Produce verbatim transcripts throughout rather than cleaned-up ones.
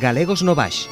Galegos no Baix.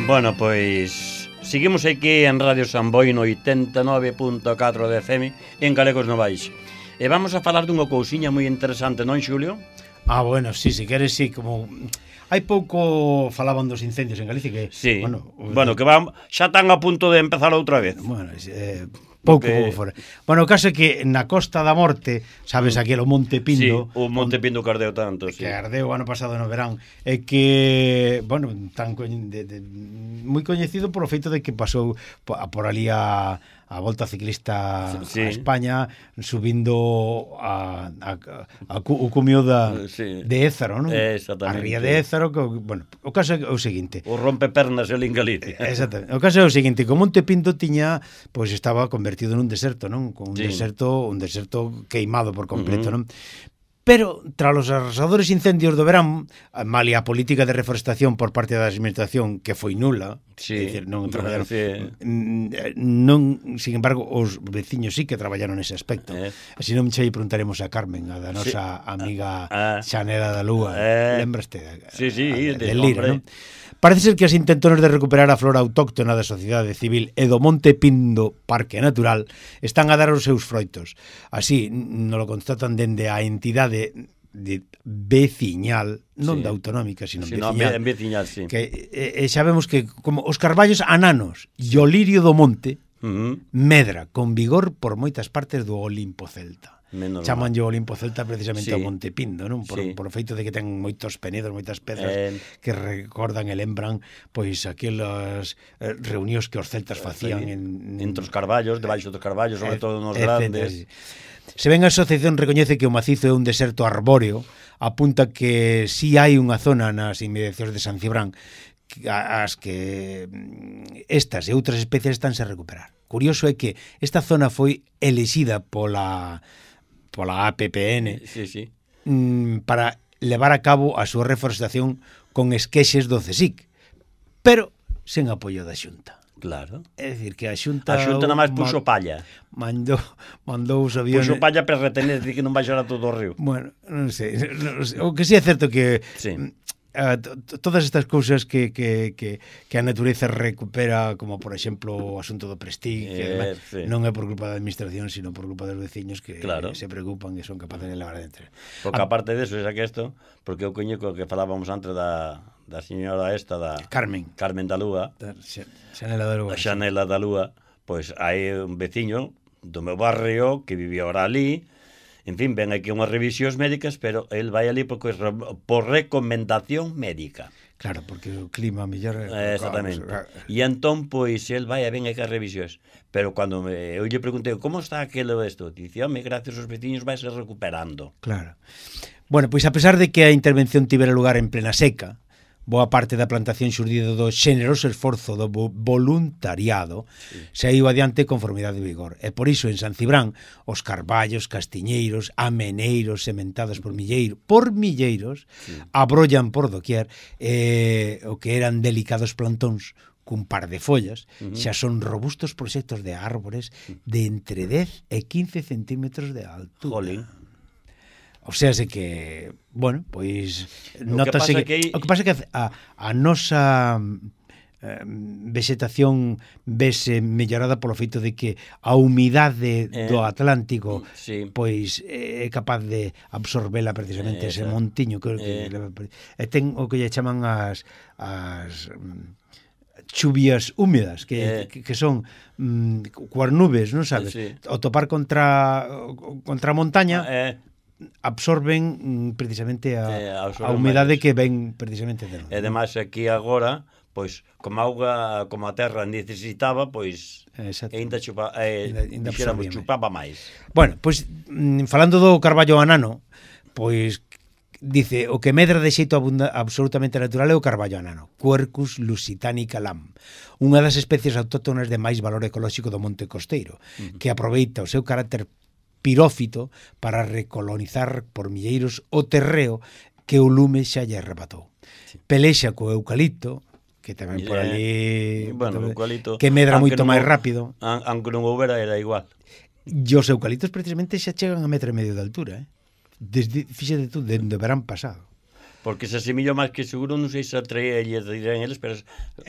Bueno, pois seguimos aquí en Radio Samboy no oitenta e nove punto catro de F M en Galegos no Baix. E vamos a falar dunha cousiña moi interesante, non, Xulio? Ah, bueno, sí, si queres, sí, como... Hai pouco falaban dos incendios en Galicia que... Sí, bueno, bueno que van, xa están a punto de empezar outra vez. Bueno, eh, pouco que... fora. Bueno, o caso é que na Costa da Morte, sabes, aquilo Monte Pindo... Sí, o Monte Pindo que ardeu tanto, sí. Que ardeu ano pasado no verán. É que, bueno, tan co... de, de, moi coñecido por o feito de que pasou por, por ali a... a volta ciclista sí. a España subindo a, a, a, a o cumio da, sí. de Ézaro, non? A ría de Ézaro, que, bueno, o caso é o seguinte. O rompepernas el en Galicia. Exactamente. O caso é o seguinte, que o Monte Pindo tiña, pois estaba convertido nun deserto, non? Con un sí. deserto, un deserto queimado por completo, uh-huh. non? Pero, tras os arrasadores incendios do verán, malia a política de reforestación por parte da administración, que foi nula, sí, é dicir, non traballaron, sí. non, sin embargo, os veciños sí que traballaron nese aspecto. Eh. Así non xa lle preguntaremos a Carmen, a da nosa sí. amiga ah. Xanela da Lúa. Eh. Lembraste? Sí, sí, a, a, de, de Lira, non? Parece ser que as intentones de recuperar a flora autóctona da sociedade civil e do Monte Pindo Parque Natural están a dar os seus froitos. Así, nos lo constatan dende a entidade de veciñal, non sí. da autonómica, sino sí, veciñal. No, veciñal, sí. Que e, e sabemos que como os carballos ananos e o lirio do monte uh-huh. medra con vigor por moitas partes do Olimpo celta. Chamanlle o Olimpo celta precisamente sí. ao Monte Pindo, non? Por, sí. por o feito de que ten moitos penedos, moitas pedras eh... que recordan e lembran pois aquelas eh, reunións que os celtas facían sí. en, entre os carballos, debaixo dos carballos, sobre eh, todo nos grandes. Se ben a asociación recoñece que o macizo é un deserto arbóreo, apunta que si hai unha zona nas inmediacións de San Cibrán as que estas e outras especies estánse a recuperar. Curioso é que esta zona foi elixida pola pola A P P N sí, sí. para levar a cabo a súa reforestación con esquexes do CSIC, pero sen apoio da Xunta. Claro. É dicir, que a Xunta... A Xunta nada máis puxo palla. Mandou, mandou os aviones... Puxo palla para retener, que non baixara todo o río. Bueno, non sei. Non sei. O que sí é certo que... Sí. Uh, todas estas cousas que, que, que, que a natureza recupera, como por exemplo o asunto do Prestige, que eh, además, sí. non é por culpa da administración, sino por culpa dos veciños que claro. se preocupan e son capaces de levar adentro. Porque aparte deso, xa que isto, porque eu coñeco que falábamos antes da, da señora esta, da Carmen, Carmen da Lúa, da Xanela da Lúa, a Xanela da Lúa, pois hai un veciño do meu barrio que vivía ahora ali. En fin, ven aquí unhas revisións médicas, pero el vai ali porque por recomendación médica. Claro, porque o clima mellor... Eh, exactamente. E entón, pois, el vai a ven aquí as revisións. Pero cando me, eu lle preguntei, como está aquilo esto? Dice, home, gracias aos veciños vai se recuperando. Claro. Bueno, pois a pesar de que a intervención tivera lugar en plena seca, boa parte da plantación xurdido do xeneroso esforzo do voluntariado sí. saiu adiante con formidade de vigor. E por iso en San Cibrán os carballos, castiñeiros, ameneiros sementados por milleiro, por milleiros sí. abrollan por doquier eh, o que eran delicados plantóns cun par de follas, uh -huh. xa son robustos proxectos de árbores de entre dez e quince centímetros de altura. Jolín. O sea, sé que, bueno, pois notase que, que, o que pasa é que a, a nosa eh, vegetación vese mellorada polo feito de que a humidade eh, do Atlántico sí. pois é capaz de absorbela precisamente eh, ese montiño que, eh. que e ten o que lle chaman as as chuvias húmedas que, eh. que, que son mm, coas nubes, non sabes? Sí. O topar contra contra a montaña eh. absorben precisamente a, eh, a humidade que ven precisamente de nós. E ademais aquí agora, pois, como a auga, como a terra necesitaba, pois ainda chupa, eh, ainda xeramos, chupaba máis. Bueno, pois falando do carballo anano, pois dice, o que medra de xeito abunda, absolutamente natural é o carballo anano, Quercus lusitanica lam, unha das especies autóctonas de máis valor ecolóxico do monte costeiro, uh -huh. que aproveita o seu carácter pirófito para recolonizar por milleiros o terreo que o lume xa lle arrebatou. Sí. Pelexa co eucalipto, que tamén por ali bueno, eucalipto, que medra moito máis rápido. Aunque non houbera era igual. E os eucaliptos precisamente xa chegan a metro e medio de altura, eh? Desde, fíxate tú, dende o verán pasado. Porque se asemillo máis que seguro, non sei se atrae e dirán eles, pero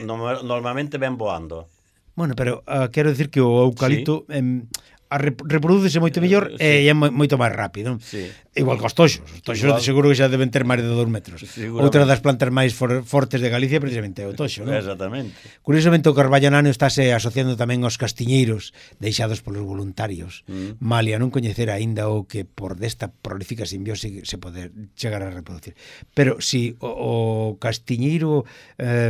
no, normalmente ven voando. Bueno, pero uh, quero decir que o eucalipto... Sí. Em, a reprodúcese moito mellor sí. e é moito máis rápido. Sí. Igual que os toxos. Os toxos igual. Seguro que xa deben ter máis de dous metros. Outra das plantas máis for, fortes de Galicia precisamente é o toxo, non? Exactamente. Curiosamente o carballo anano estáse asociando tamén aos castiñeiros deixados polos voluntarios. Mm. Malia non coñecer aínda o que por desta prolífica simbiose se poder chegar a reproducir. Pero si o, o castiñeiro... Eh,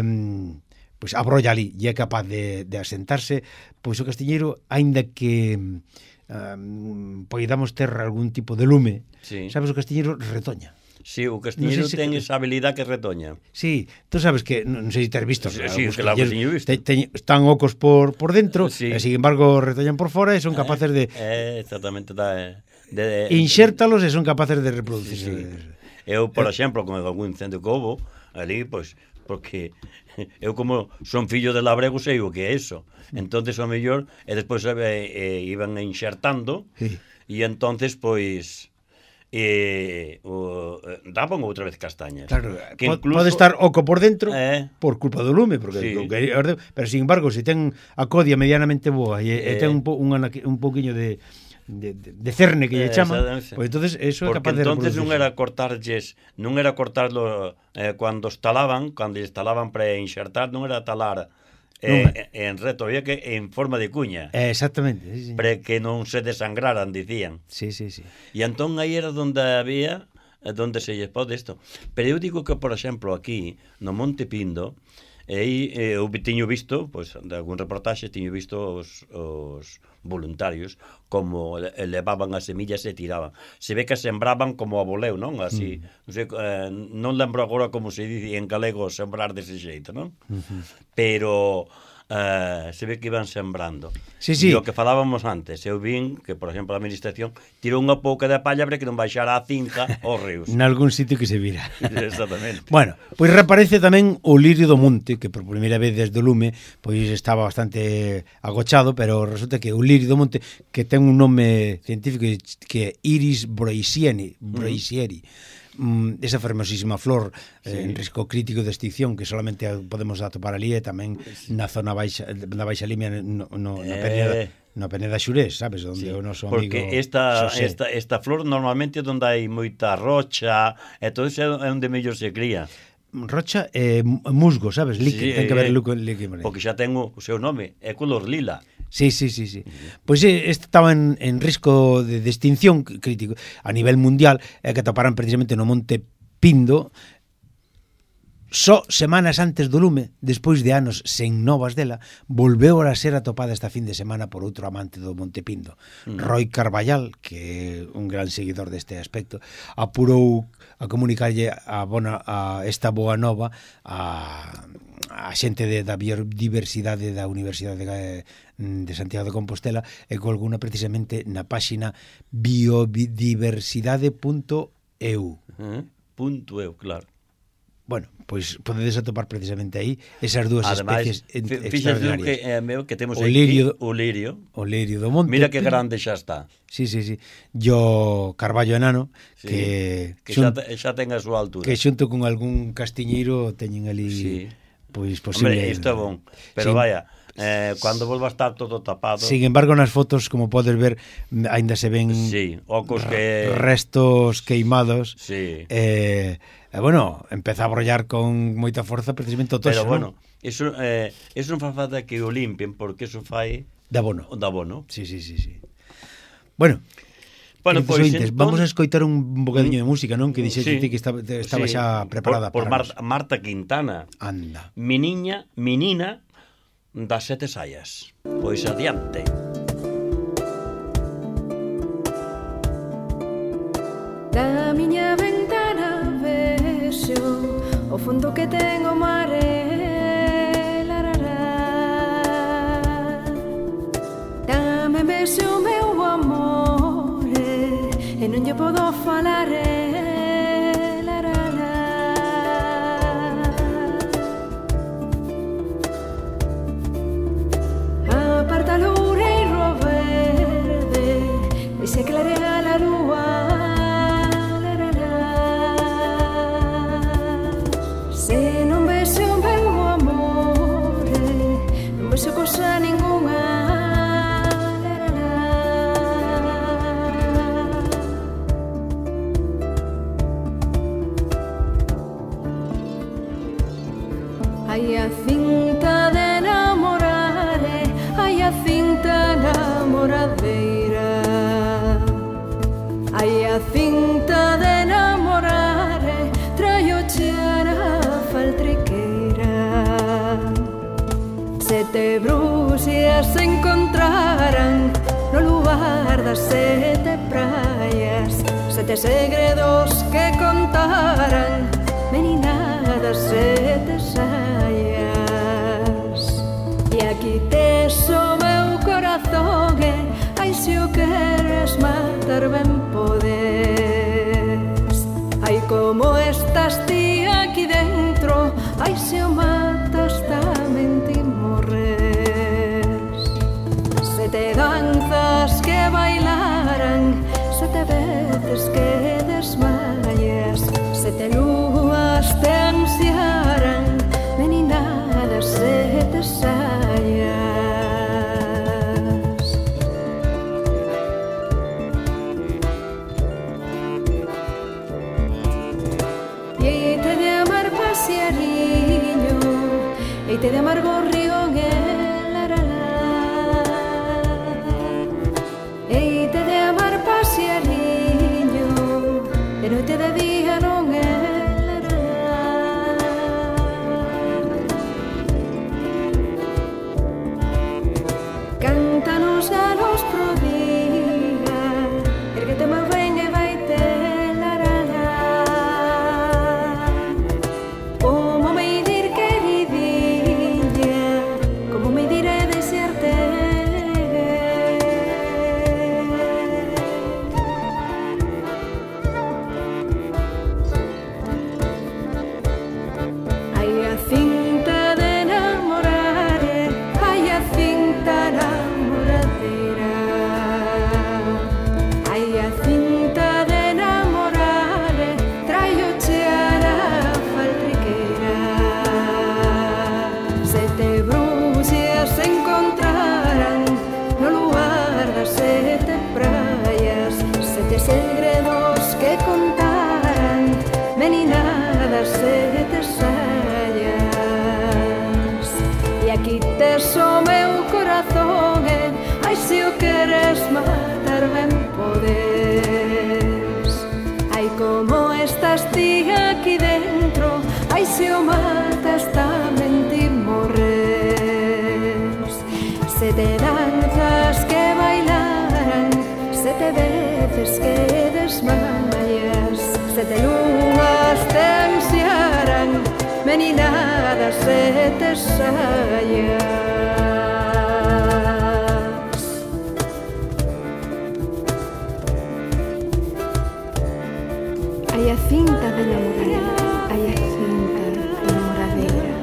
pois abrolla ali e é capaz de, de asentarse, pois o castiñeiro, aínda que um, poidamos ter algún tipo de lume, sí. sabes, o castiñeiro retoña. Sí, o castiñeiro no sé si ten que... esa habilidade que retoña. Sí, tú sabes que, non sei se te has visto, sí, sí, que la castiñeiro visto. Te, te, están ocos por, por dentro, sí. e sin embargo retoñan por fora e son capaces de... Eh, exactamente, da, de, de, inxértalos e son capaces de reproducirse. Sí, sí. Eu, por eh, exemplo, con algún incendio que houve, ali, pois, porque... eu como son fillo de labrego sei o que é eso, entonces o mellor e despois eh, eh, iban inxertando sí. e entonces pois eh, o, daban outra vez castañas, claro, que incluso, pode estar oco por dentro eh, por culpa do lume, porque sí. que, pero sin embargo se ten a codia medianamente boa e, eh, e ten un, po, un, un poquinho de De, de, de cerne que lle chaman, pois entonces eso é capaz de reproducirse. Porque entonces non era cortarlles, non era cortarlo eh, cando estalaban, cando instalaban para inxertar, non era talar eh, en reto, había que en forma de cuña. Eh, exactamente, sí, sí. Para que non se desangraran, dicían. Sí, sí, sí. E entón aí era onde había, onde se lles pode isto. Pero eu digo que, por exemplo, aquí, no Monte Pindo, e aí eh, eu tiño visto, pois, de algún reportaxe, tiño visto os, os voluntarios como levaban as semillas e tiraban. Se ve que sembraban como a voleu, non? Así, mm. non sei, eh, non lembro agora como se dice en galego sembrar dese xeito, non? Uh-huh. Pero... Uh, se ve que iban sembrando. Sí, sí. E o que falábamos antes, eu vin que, por exemplo, a administración tirou unha pouca de palla para que non baixara a cinta aos ríos. Nalgún sitio que se vira. Exactamente. Bueno, pois reaparece tamén o lirio do monte, que por primeira vez desde o lume pois estaba bastante agochado, pero resulta que o lirio do monte, que ten un nome científico que é Iris broisieri, broisieri. Mm. Mm, esa fermosísima flor sí. eh, en risco crítico de extinción que solamente podemos atopar ali e tamén sí. na zona baixa, na Baixa Limia no, no, eh... na Peneda na Peneda Xurés, sabes, onde sí. o noso amigo porque esta, esta, esta flor normalmente é onde hai moita rocha e todo isso é onde mellor se cría. Rocha e eh, musgo, sabes, líquido, sí, ten que ver líquido, porque xa ten o seu nome, é color lila. Sí, sí, sí, sí. Pois este estaba en, en risco de, de extinción crítico a nivel mundial, e que atoparan precisamente no Monte Pindo só semanas antes do lume, despois de anos sen novas dela, volveu a ser atopada esta fin de semana por outro amante do Monte Pindo. Mm. Roy Carballal, que é un gran seguidor deste aspecto, apurou a comunicarlle a, bona, a esta boa nova a, a xente de, da biodiversidade da Universidade de, de Santiago de Compostela e colguna precisamente na páxina biodiversidade punto e u. Uh-huh. Punto eu, claro. Bueno, pois podedes atopar precisamente aí esas dúas Ademais, especies extraordinarias. Que, eh, meu, que temos o lirio, aquí, o lirio. O lirio do monte. Mira que grande xa está. Sí, sí, sí. Yo Carballo enano, sí, que, que xun, xa, xa ten a súa altura. Que xunto con algún castiñeiro teñen ali... Sí. Pois posible... Hombre, isto é bon. Pero sí. Vaya... Eh, cando volva a estar todo tapado. Sin embargo, nas fotos, como podes ver, aínda se ven sí, ocos que... restos queimados. Sí. Eh, eh, bueno, empeza a brollar con moita forza precisamente o toxo, pero bueno, ¿no? Eso, eh, eso non fa falta que o limpien, porque eso fai... Da bono. Da bono. Sí, sí, sí, sí. Bueno, bueno pues, entón... vamos a escoitar un bocadiño de música, non? Que dixete sí, que estaba, estaba sí, xa preparada por, por para Marta, Marta Quintana. Anda. Mi niña, mi nina das sete saias. Pois adiante. Da miña ventana vexo o fondo que ten o mare, larará. Dame vexo o meu amore e non lle podo falar, larará. Aparta l'oureiro verde e se clarea la lua. Vexo cosa ninguna, hai a cinta de enamorar, hai a cinta namoradeira, hai a cinta de enamorar, traio chara faltriqueira. Sete bruxas se encontraran no lugar das sete praias, sete segredos que contaran, meninadas sete saias. E aquí tes o meu corazón, e ai se o queres matar ben podes. Ai como estás ti aquí dentro, ai se o matas tamén ti morres. Sete danzas que bailaran, sete veces que desmayas, sete lúas te ansiaran, meninadas sete saias. E eite de amar pasiariño, eite de amar gorrión, eite de amar pasiariño, de noite de día non é. Cántanos galos pro día, erguete máis ben e vaite larala. Como me dir queridinha, como me diré desearte. Hai a cinta de enamorar, hai a cinta namoradeira, hai a cinta de enamorar, traio chara faltriqueira. Sete bruxas se encontraran no lugar das sete praias, sete segredos que contaran, meninadas sete saias. E aquí tes o meu corazón, e ai se o queres matar ben podes. Ai como estás ti aquí dentro, ai Ai se o matas tamén ti morres. Sete danzas que bailaran, sete veces que desmayas, sete lunas te ansiaran, meninadas sete saias. Hai a cinta de namoradeira, hai a cinta de namoradeira,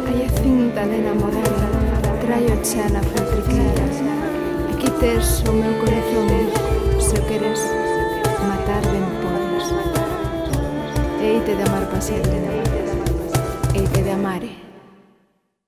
hai a cinta de namoradeira, traio xa na faltriqueira. Aquí tes o meu corazón, se o queres matar ben podes. Heite de amar pa sempre.